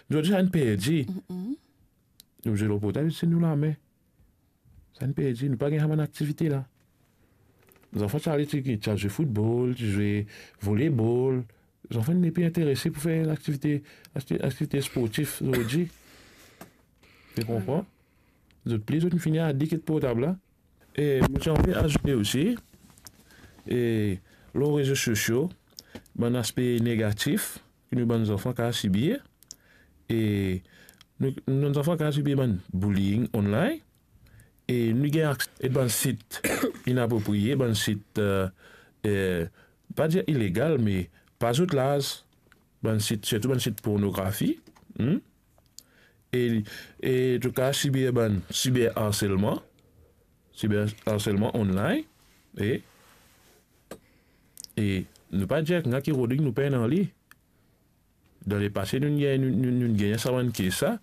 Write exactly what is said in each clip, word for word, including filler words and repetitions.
Zordi, sa inn perdi. Nou zwe lor portab, se nou lame. Sa inn perdi, nou pa gagn sa bann aktivite la. Zanfan ti ale, ti, ti al zwe foutbol, ti zwe volebol. Zanfan nepli interese pou fer aktivite, akti-, aktivite sportif zordi. To konpran? Zot pli, zot fini adik ek portab la. E mo ti anvi azoute osi, e lor rezo sosio, bann aspe negatif ki nou bann zanfan kapav sibir, e nou, nou bann zanfan kapav sibir bann bullying online, e nou gagn akse bann sit inapropriye, bann sit, eh, eh, pa dir ilegal, me pa zot laz, bann sit, sirtou bann sit pornografi, hmm? E, e to kapav sibir bann siberharselman, siberharselman online, e, e nou pa dir enn ki Rodrig nou pena li. Dan lepase, nou, nou, nou, nou gagn sa bann kes sa,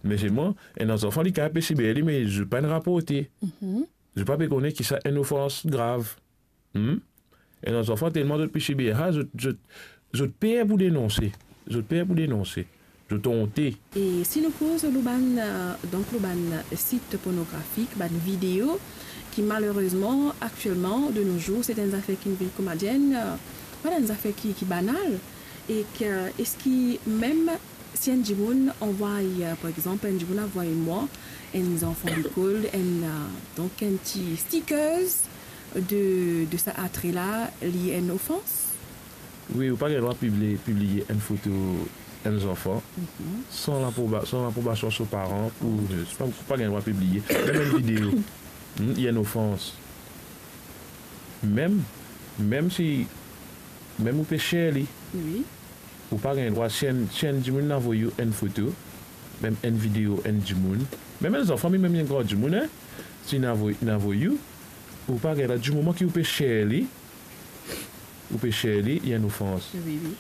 me selman, enn zanfan li kapav pe siber li, me zot pa'nn raporte. Zot pa pe kone ki sa enn ofans grav. Hmm? Enn zanfan, telman zot pe sibir sa, zot, zot, zot per pou denonse. Zot per pou denonse. Zot onte. E si nou koz lor bann, eh, donk lor bann sit pornografik, bann video ki malerezman, aktielman, de nos jours, se enn zafer ki vinn kouma dir enn, eh, pa enn zafer ki, ki banal. E ki, eski mem si enn dimoun anvway, eh, par exanp, enn dimoun anvway mwa, enn zanfan lekol, enn, eh, donk enn ti stickers de, de sa atre la, li enn ofans? Wi, ou pa gagn drwa pibli-, pibliye enn foto enn zanfan san laproba-, san laprobasion so paran pou, ou pa, ou pa gagn drwa pibliye. Mem enn video, hmm, li enn ofans. Mem, mem si, mem ou pe share li, wi, ou pa gagn drwa, si enn, si enn dimoun inn avoy ou enn foto, mem enn video enn dimoun, mem enn zanfan, mem enn gran dimoun, en, si inn avoy, inn avoy ou, ou pa gagn drwa, dimoman ki ou pe share li, ou pe share li, li enn ofans. Wi, wi.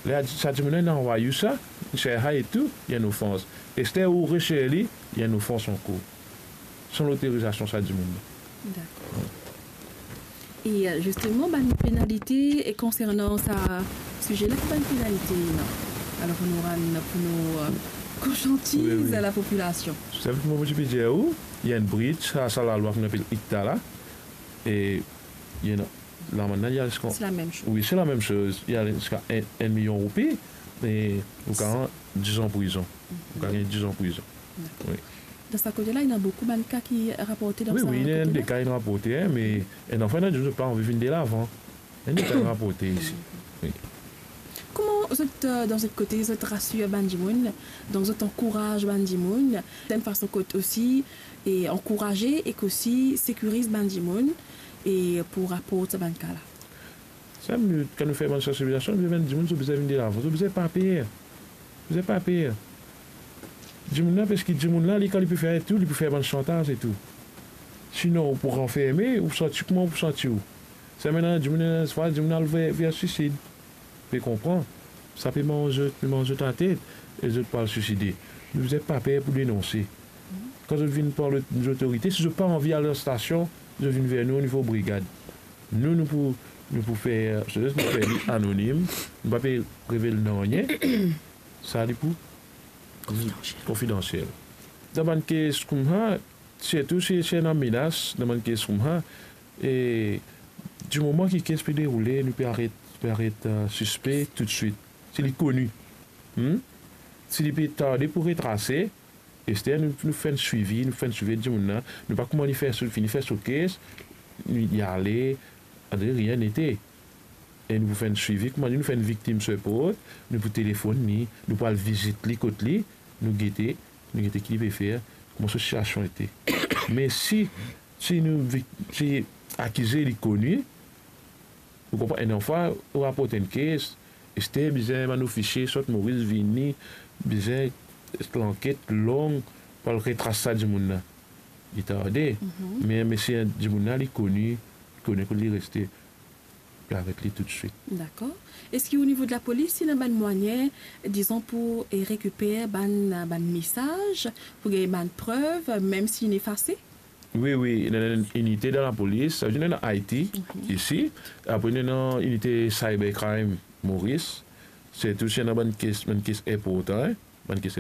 Ler sa dimoun la inn anvway ou sa, share sa e tou, li enn ofans. Ester ou re-share li, li enn ofans ankor. San lotorizasion sa dimoun la. Dakor. E, eh, zisteman, bann penalite, e konsernan sa size la, ki bann penalite ena? Alor, nou rann pou nou, eh, konsiantiz, wi, wi, lapopilasion. Sa, kouma mo ti pe dir ou, li enn breach, sa, sa lalwa ki nou apel ICTA la. E li ena, lamann la, li al ziska, se lamem soz. Wi, se lamem soz. Li al ziska enn, enn milion roupi, e ou kapav diz an prizon. Ou kapav gagn diz an prizon. Dakor. Wi. Dan sa kote la, ena boukou bann ka ki raporte dan sa kote la? Wi, wi, ena de ka inn raporte, en, me enn zanfan inn dir zot pa anvi vinn delavan. Ena de ka inn raporte isi. Wi. Kouma zot, eh, dan zot kote, zot rasir bann dimoun, donk zot ankouraz bann dimoun, dan enn fason kot osi, e ankouraze ek osi sekiriz bann dimoun, e pou raport sa bann ka la? Samem, kan nou fer bann sansibilizasion, nou bizin dimoun, zot bizin vinn delavan, zot bizin pa per. Zot bizin pa per. Dimoun la, parski dimoun la, li, kan li pe fer tou, li pe fer bann shantaz e tou. Sinon, ou pou ranferme, ou santi kouma ou pou santi ou. Samem ena dimoun, ena fwa, dimoun al ver, ver sisid. Pe konpran? Sa pe manz zot, pe manz zot latet, e zot pou al siside. Nou bizin pa per pou denonse. Kan zot vinn par lot-, lotorite, si zot pa anvi al dan stasion, zot vinn ver nou onivo brigad. Nou, nou pou, nou pou fer, se, nou fer li anonim, nou pa pe revel nanye. Sa li pou konfidansiel. Konfidansiel. Dan bann kes koumsa, sirtou si, si ena menas, dan bann kes koumsa, e dimoman ki kes pe deroule, nou pe aret, pe aret, eh, sispe toutswit. Si li koni. Hmm? Si li pe tarde pou retrase, ester nou, nou fer enn swivi, nou fer enn swivi dimoun la. Nou pa kouma li fer so, fini fer so kes, li, li ale, on dirait rien n'était. E nou pou fer enn swivi, kouma dir, nou fer enn victim support, nou pou telefonn li, nou pou al vizit li kot li, nou gete, nou gete ki li pe fer, kouma so sitiasion ete. Me si, si nou vi-, si akize li koni, ou konpran, enn fwa ou raport enn kes, ester bizin bann ofisie sort Moris vini, bizin lanket long pou al retras sa dimoun la. Li tarde. Mhm. Me, me si dimoun la, li koni, li koni kot li reste, pe aret li toutswit. Dakor. Eski o nivo de lapolis, ena bann mwayin, dizon, pou, eh, rekiper bann, bann mesaz, pou gagn bann prev, mem si inn efase? Wi, wi, ena enn inite dan lapolis, sa ve dir ena I T, mhm, isi, apre ena inite cybercrime Moris, sirtou si ena bann kes, bann kes inportan, en, bann kes